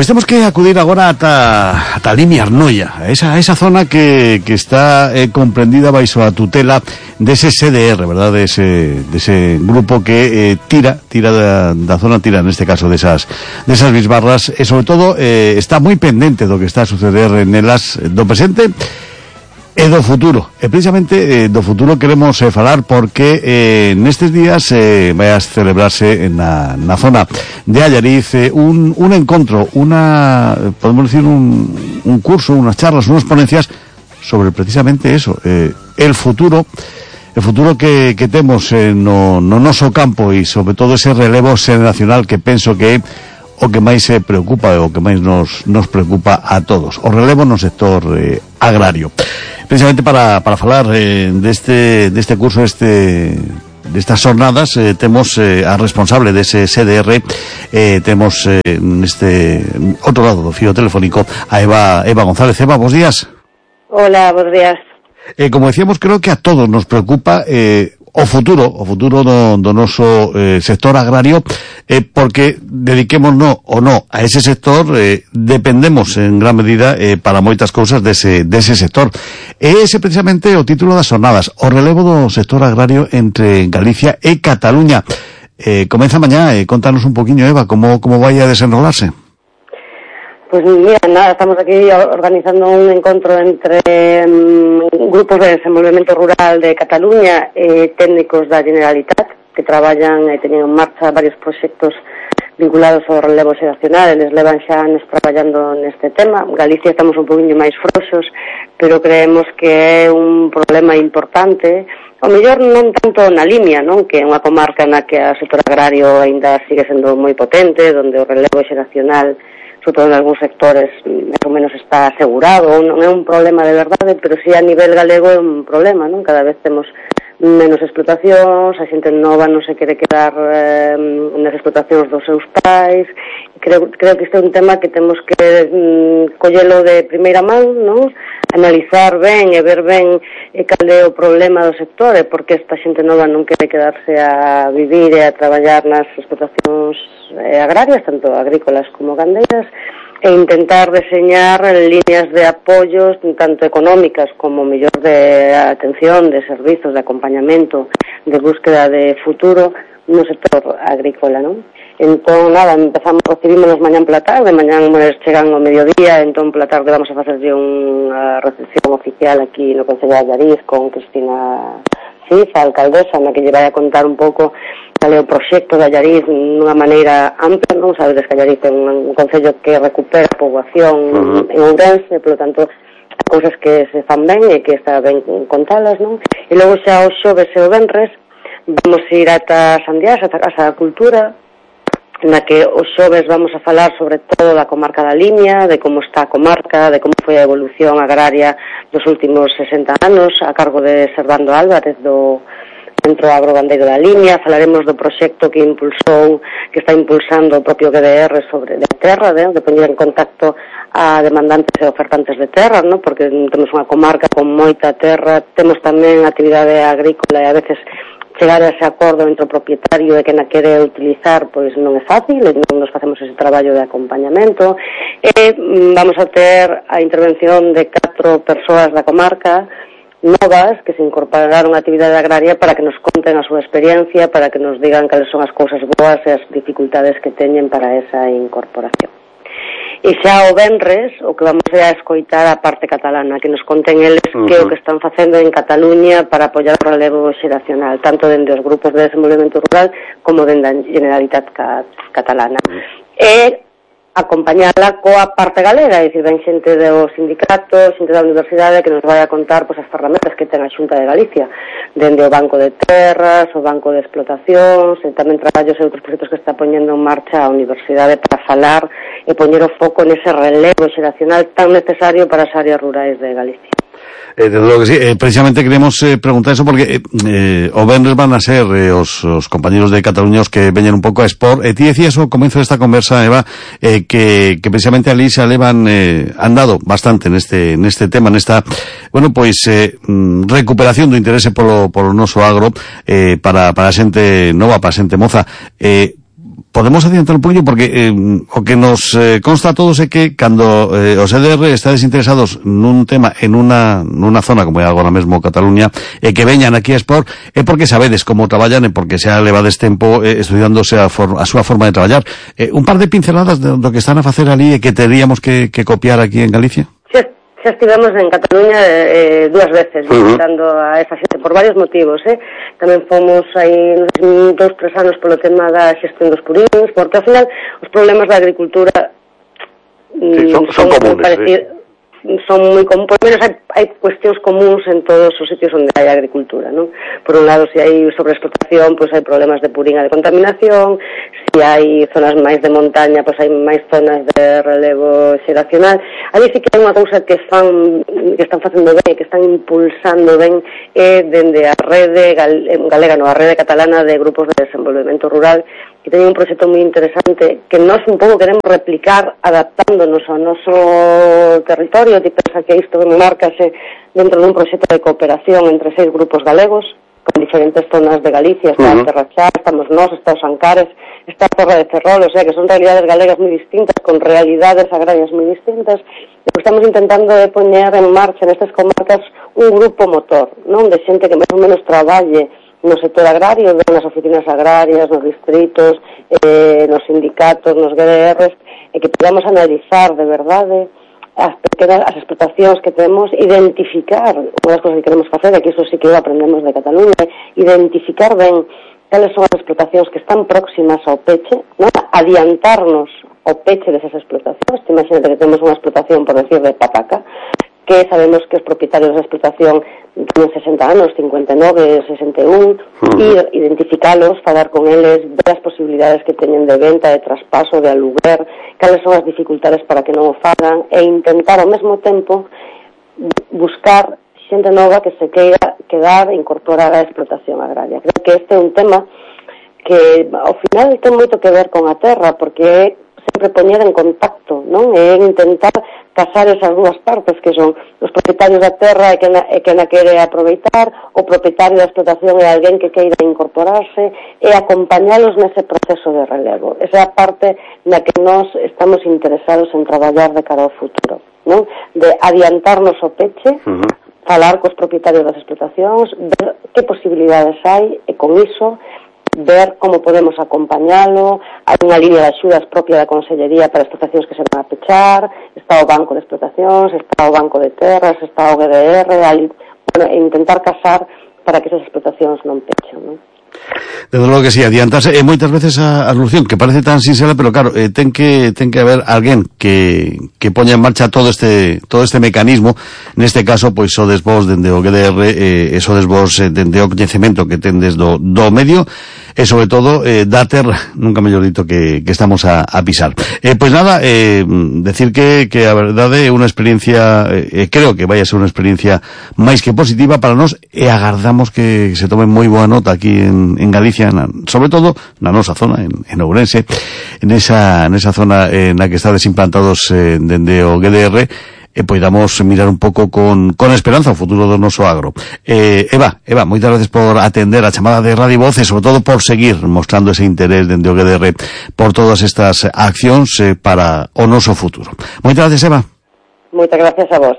Pois temos que acudir agora ata Limia Arnoia, esa zona que está comprendida baixo a tutela dese CDR, verdad, dese grupo que tira da zona, tira neste caso desas bisbarras, e sobre todo está moi pendente do que está a suceder nelas do presente e do futuro. E precisamente do futuro queremos falar porque nestes días vai a celebrarse na zona de Allariz un encontro, podemos decir un curso, unas charlas, unas ponencias sobre precisamente eso, el futuro que temos no noso campo e sobre todo ese relevo xeracional que penso que é o que máis se preocupa, o que máis nos preocupa a todos, o relevo no sector agrario. Precisamente para falar deste curso, destas jornadas, temos a responsable dese CDR, temos neste outro lado do fío telefónico a Eva González. Eva, bons días. Hola, bons días. Como decíamos, creo que a todos nos preocupa o futuro do noso sector agrario, porque dediquémonos ou non a ese sector, dependemos en gran medida para moitas cousas dese sector. Ese precisamente o título das jornadas, o relevo do sector agrario entre Galicia e Cataluña. Comeza mañá, contanos un poquinho, Eva, como vai a desenrolarse. Pues mira, nada, estamos aquí organizando un encontro entre grupos de desenvolvemento rural de Cataluña e técnicos da Generalitat que traballan e teñen en marcha varios proxectos vinculados ao relevo xeracional. Eles levan xa anos traballando neste tema. En Galicia estamos un poquinho máis frouxos, pero creemos que é un problema importante. O mellor non tanto na Limia, non? Que é unha comarca na que o sector agrario aínda sigue sendo moi potente, onde o relevo xeracional, sobre todo en algúns sectores, máis ou menos está asegurado. Non é un problema de verdade, pero si a nivel galego é un problema, non? Cada vez temos menos explotacións, a xente nova non se quere quedar nas explotacións dos seus pais. Creo que este é un tema que temos que collelo de primeira man, non? Analizar ben e ver ben cal é o problema do sector e porque esta xente nova non quere quedarse a vivir e a traballar nas explotacións agrarias, tanto agrícolas como gandeiras, e intentar deseñar líneas de apoios tanto económicas como mellor de atención, de servizos, de acompañamento, de búsqueda de futuro no sector agrícola, non? Entón, nada, recibímonos mañán pola tarde, mañán chegan ao mediodía, entón pola tarde vamos a facerlle unha recepción oficial aquí no Concello de Allariz con Cristina Ciza, alcaldesa, na que lle vai a contar un pouco cal é o proxecto de Allariz nunha maneira ampla, non? Sabedes que Allariz é un concello que recupera a poboación en Ourense, polo tanto, cousas que se fan ben e que está ben contalas, non? E logo xa o xoves e o venres vamos ir ata Sandiás, ata a Casa da Cultura, na que os xoves vamos a falar sobre todo da comarca da Limia, de como está a comarca, de como foi a evolución agraria dos últimos 60 anos a cargo de Servando Álvarez do Centro Agrogandeiro da Limia. Falaremos do proxecto que está impulsando o propio GDR sobre de terra, de poñer en contacto a demandantes e ofertantes de terra, ¿no? Porque temos unha comarca con moita terra, temos tamén actividade agrícola e a veces chegar a ese acordo entre o propietario e quen a quere utilizar pois non é fácil, e non nos facemos ese traballo de acompañamento, e vamos a ter a intervención de 4 persoas da comarca novas que se incorporaron á actividade agraria para que nos conten a súa experiencia, para que nos digan cales son as cousas boas e as dificultades que teñen para esa incorporación. E xa o venres, o que vamos a escoitar a parte catalana, que nos conten eles que é o que están facendo en Cataluña para apoiar o relevo xeracional, tanto dende os grupos de desenvolvemento rural como dende a Generalitat catalana. E acompañala coa parte galega, é dicir, ven xente dos sindicatos, xente da universidade que nos vai a contar pois as ferramentas que ten a Xunta de Galicia, dende o Banco de Terras, o Banco de Explotacións, e tamén traballos e outros proxectos que está poñendo en marcha a universidade para falar e poñer o foco nese relevo xeracional tan necesario para as áreas rurais de Galicia. Desde logo que sí, precisamente queremos preguntar eso porque o venres van a ser os compañeros de Cataluña os que veñen un pouco a expor. Ti decías ao comezo desta conversa, Eva, que precisamente ali se alevan andado bastante neste tema, nesta, bueno, pois recuperación do interese polo noso agro para a xente nova, para a xente moza. podemos adiantar un poquillo porque o que nos consta a todos é que cando os EDR estades interesados nun tema en unha zona como é agora mesmo Cataluña e que veñan aquí a Expor é porque sabedes como traballan e porque xa levades tempo estudiándose a súa forma de traballar. Un par de pinceladas do que están a facer ali e que teríamos que copiar aquí en Galicia? Xa estivemos en Cataluña 2 veces visitando a esa xente por varios motivos, Tamén fomos aí 2-3 anos polo tema da xestión dos purins, porque ao final os problemas da agricultura son comunes, son moi comunes, por menos hai cuestións comuns en todos os sitios onde hai agricultura, non? Por un lado, se hai sobreexplotación, pois hai problemas de puringa de contaminación, se hai zonas máis de montaña, pois hai máis zonas de relevo xeracional. Ali sí que hai unha cousa que están facendo ben e que están impulsando ben dende a rede galega, a rede catalana de grupos de desenvolvemento rural, que teñen un proxecto moi interesante que nós un pouco queremos replicar adaptándonos ao noso territorio. Ti pensa que isto marcase dentro dun proxecto de cooperación entre 6 grupos galegos con diferentes zonas de Galicia. Está a Terra Chá, estamos nós, está os Ancares, está a Torre de Ferrol, o sea que son realidades galegas moi distintas, con realidades agrarias moi distintas. Estamos intentando poñer en marcha nestas comarcas un grupo motor, non, de xente que máis ou menos traballe no sector agrario, nas oficinas agrarias, nos distritos, nos sindicatos, nos GDRs, e que podamos analizar de verdade as explotacións que temos, identificar, unha das cosas que queremos facer, aquí iso sí que aprendemos de Cataluña, identificar ben cales son as explotacións que están próximas ao peche, non? Adiantarnos ao peche desas explotacións. Imagínate que temos unha explotación, por decir, de pataca, que sabemos que os propietarios da explotación teñen 60 anos, 59, 61, e identificalos, falar con eles, ver as posibilidades que teñen de venta, de traspaso, de aluguer, cales son as dificultades para que non o fagan, e intentar ao mesmo tempo buscar xente nova que se queira quedar e incorporar a explotación agraria. Creo que este é un tema que ao final ten moito que ver con a terra, porque é sempre poñer en contacto, non? É intentar casar esas dúas partes, que son os propietarios da terra e que na quere aproveitar, o propietario da explotación é alguén que queira incorporarse, e acompañalos nese proceso de relevo. Esa é a parte na que nós estamos interesados en traballar de cara ao futuro, non? De adiantarnos o peche, falar cos propietarios das explotacións, ver que posibilidades hai, e con iso ver como podemos acompañalo. Hai unha línea de axudas propia da Consellería para explotacións que se van a pechar, está o Banco de Explotacións, está o Banco de Terras, está o GDR, e intentar casar para que esas explotacións non pechen, non? Desde logo que sí, adiantarse, e moitas veces a solución que parece tan sinxela, pero claro, ten que haber alguén que poña en marcha todo este mecanismo. Neste caso, pois sodes vos dende o GDR, e sodes vos dende o coñecemento que tendes do medio, e sobre todo da terra, nunca mellor dito, que estamos a pisar. Pois nada, decir que a verdade é unha experiencia, creo que vai a ser unha experiencia máis que positiva para nós, e agardamos que se tome moi boa nota aquí en Galicia, sobre todo na nosa zona, en Ourense, nesa zona na que estades implantados dende o GDR, e poidamos mirar un pouco con esperanza o futuro do noso agro. Eva, moitas gracias por atender a chamada de Radio Voz, e sobre todo por seguir mostrando ese interés dende o GDR por todas estas accións para o noso futuro. Moitas gracias, Eva. Moitas gracias a vos.